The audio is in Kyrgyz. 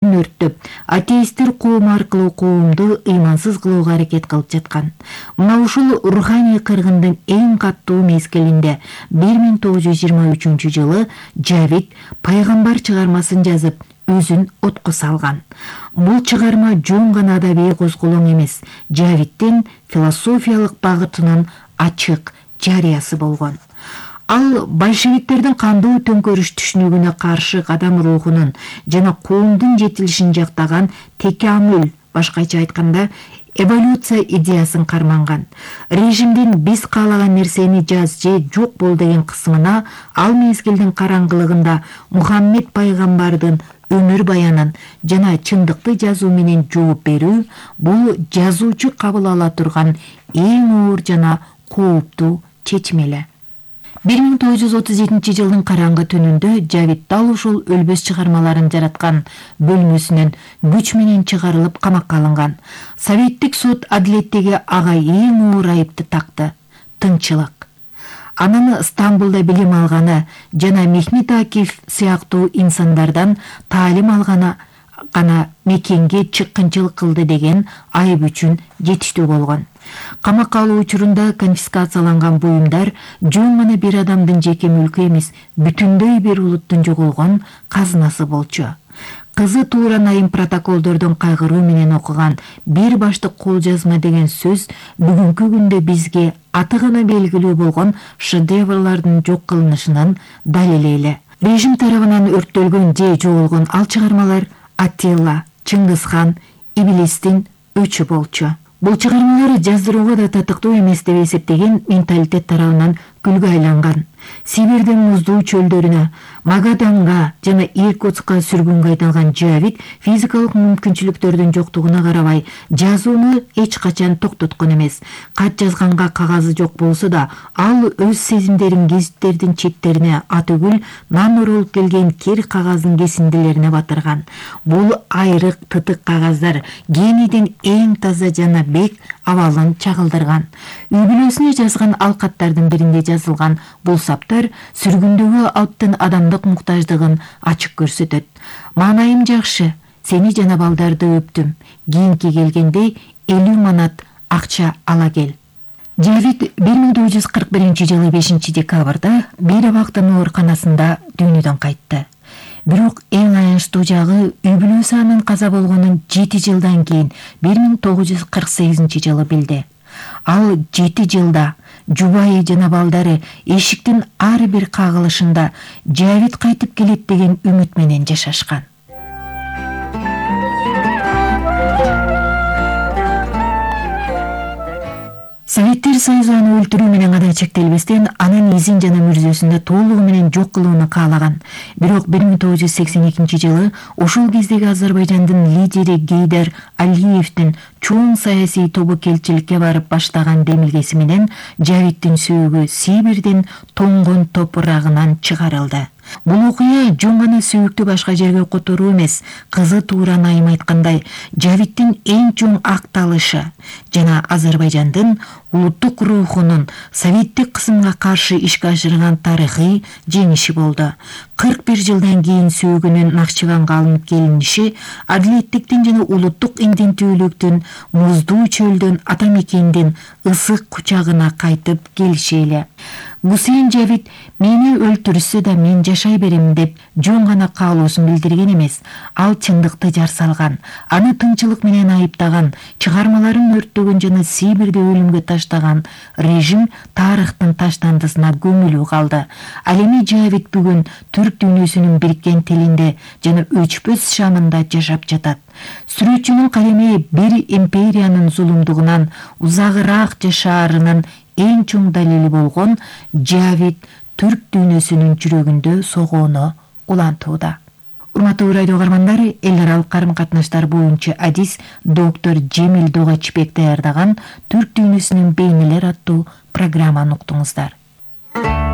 өрттөп, атеисттер коому аркылуу коомду ыймансыз кылууга аракет кылып жаткан. Мына ушул руханий кыргындын эң каттуу мезгилинде 1923 жылы Жавид пайгамбар чыгармасын жазып, өзүн отко салган. Бул чыгарма жөн гана адабий козголоң эмес, Жавиддин философиялык багытынын ачык жарыясы болгон. Ал большевиктердин кандуу төңкөрүш түшүнүгүнө каршы кадам рухунун жана коомдун жетилишин жактаган текамүл, башкача айтканда, эволюция идеясын карманган. Режимдин биз каалаган нерсени жаз же жок бол деген кысымына ал мезгилдин караңгылыгында Мухаммед пайгамбардын өмүр баянын жана чындыкты жазуу менен жооп берүү бул жазуучу кабыл ала турган эң оор жана кооптуу чечим эле. 1937 жылдын караңгы түнүндө Жавид дал ушул өлбөс чыгармаларын жараткан бөлмөсүнөн күч менен чыгарылып камакка алынган. Советтик сот адилеттеги ага эң оор айыпты такты — тынчылык. Анын Стамбулда билим алганы жана Мехмет Акиф сыяктуу инсандардан таалим алганы гана мекенге чыккынчылык кылды деген айып үчүн жетиштүү болгон. Камакка алуу учурунда конфискацияланган буюмдар жөн гана бир адамдын жеке мүлкү эмес, бүтүндөй бир улуттун жоголгон казынасы болчу. Кызы туура айым протоколдордон кайгыруу менен окуган бир баштык кол жазма деген сөз бүгүнкү күндө бизге аты гана белгилүү болгон шедеврлардын жок кылынышынын далили эле. Режим тарабынан өрттөлгөн же жоголгон ал чыгармалар Аттила, Чыңгызхан, Иблистин өчү болчу. Бул чыгармалар жаздырууга да татыктуу эмес деп эсептеген менталитет тарабынан күлгө айланган. Сибирдин муздуу чөлдөрүнө, Магаданга жана Иркутскка сүргүнгө айдалган Жавид физикалык мүмкүнчүлүктөрдүн жоктугуна карабай жазууну эч качан токтоткон эмес. Кат жазганга кагазы жок болсо да, ал өз сезимдерин гезиттердин четтерине атүгүл нан оролуп келген кир кагаздын кесиндилерине батырган. Бул айрык тытык кагаздар генийдин эң таза жана бек абалын чагылдырган. Үй бүлөсүнө жазган ал каттардын биринде жазылган бул саптар сүргүндөгү алптын адамдык муктаждыгын ачык көрсөтөт. Маанайым жакшы, сени жана балдарды өптүм. Кийинки келгенде 50 манат акча ала кел. Жавид 1941 жылы 5 декабрда бир абактын ооруканасында дүйнөдөн кайтты. Бирок эң аянычтуу жагы үй бүлөсү анын каза болгонун 7 жылдан кийин 1948 жылы билди. Ал 7 жылда жубайы жана балдары эшиктин ар бир кагылышында Жавид кайтып келет деген үмүт менен жашашкан. Советтер Союзу аны өлтүрүү менен гана чектелбестен, анын изин жана мүрзөсүн да толугу менен жок кылууну каалаган. Бирок 1982 жылы ошол кездеги Азербайжандын лидери Гейдар Алиевдин чоң саясий тобу келчиликке барып баштаган демилгеси менен Жавиддин сөөгү Сибирдин тоңгон топурагынан чыгарылды. Бул окуя жөн гана сөөктү башка жерге которуу эмес, кызы туура айым айткандай, Жавиддин эң чоң акталышы жана Азербайжандын улуттук рухунун советтик кысымга каршы ишке ашырган тарыхый жеңиши болду. 41 жылдан кийин сөөгүнүн Нахчыванга алынып келиниши адилеттиктин жана улуттук интимдүүлүктүн муздуу чөлдөн ата мекендин ысык кучагына кайтып келиши эле. Гусейн Жавид мени өлтүрсө да мен жашай берем деп жөн гана каалоосун билдирген эмес, ал чындыкты жар салган, аны тынчылык менен айыптаган, чыгармаларын өрттөгөн жана Сибирди өлүмгө таштаган режим тарыхтын таштандысына көмүлүү калды. Ал эми Жавид бүгүн түрк дүйнөсүнүн бириккен тилинде жана өчпөс шамында жашап жатат. Сүрөтчүнүн калеми бир империянын зулумдугунан узагыраак жашаарынын эң чоң далили болгон Жавид түрк дүйнөсүнүн жүрөгүндө согоону улантууда. Урматтуу радио угармандар, эл аралык карым катнаштар боюнча адис доктор Жемил Догачбек даярдаган Түрк дүйнөсүнүн бейнелер аттуу программаны уктуңуздар.